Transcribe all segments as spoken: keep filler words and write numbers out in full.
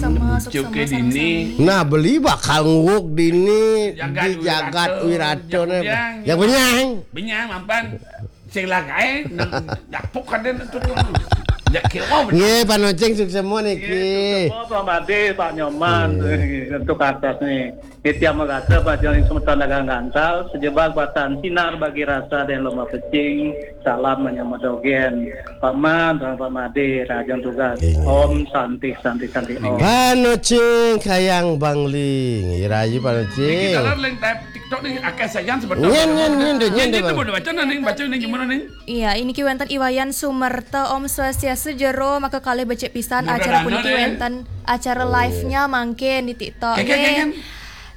Sama, suksema, dini. Nah, beli bakal nguwug dini di jagat wirata né. Yang benyang. Benyang mapan. Sing lagaé nang dapuk kadén tuh. Ya kira. Nggih, Pak Nocing, suksema niki. Suksema, Pak Madé, Pak Nyoman, untuk atas nih. Nitya Megata, Pak Joni Semeton Dagang Gantal, sejebak batan sinar bagi rasa dan lomba pecing, salam menyambut dogén. Pak Man, Pak Madé, rahajeng tugas. Om Santi, Santi, Santi, Om. Pak Nocing, Kayang Bangling. Irayu, Pak Nocing. Niki taler ling TikTok nih, akéh sajan sebetulnya. Nyén, nyén, nyén, nyén, nyén, nyén, baca ning gimana nih? Iya, ini ki wénten I Wayan Sumerta, Om Swastiastu, jero maka kalih becik pisan acara puniki, wénten acara live-nya mangkin di TikTok.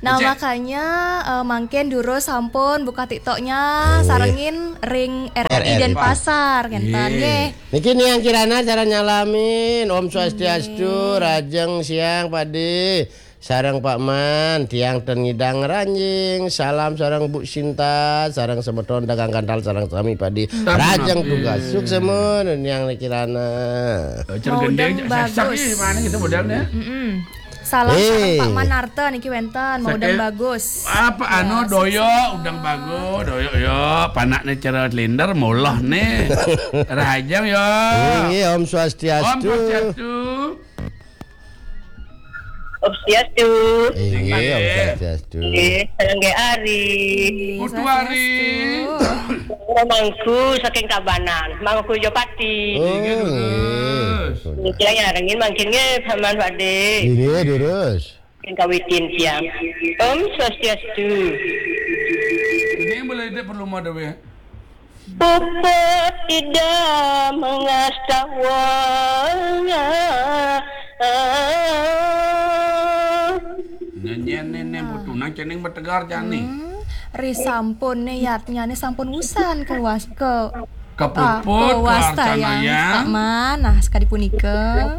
Nah, makanya, eh, mangkin durus sampun buka TikTok-nya, sarengin ring R R I Denpasar, ngénten, nggih. Niki Niang Kirana cara nyalamin, Om Swastiastu, rahajeng siang, Pak Dé. Sareng Pak Man, tiang ten ngidang ranjing. Salam sareng Bu Sinta, sareng semeton Dagang Gantal, sareng sami Pak Dé. Rahajeng tugas. Suksema, Niang Kirana. Maudem bagus. Mana kita modalnya? Salam sareng Pak Manarta niki wénten, maudem bagus. Apa anu doyo, udang bagus, doyo yo, panakné cara lender, moloh né. Rahajeng yo. Nggih, Om Swastiastu. Om Swastiastu. Om Swastiastu. Inggih, Om Swastiastu. Nggih, sareng Ari. Putu Ari. Mangku saking Tabanan, Mangku Jopati. Oh, inggih, durus. Niki nyarengin mangkin nggih, Paman Pak Dé. Inggih, durus. Sing kawitin siang. Om Swastiastu. Ini boleh tidak perlu mau ada ya? Puput tidak mengastawanga. Nyanyian nenek butuh nang cening betegar jani. Hmm, ri sampun né yatnyané sampun wusan ke was-, ke, ah, kepuput, kewastayang, kewastayang. Pak Man, nah, sekali punika.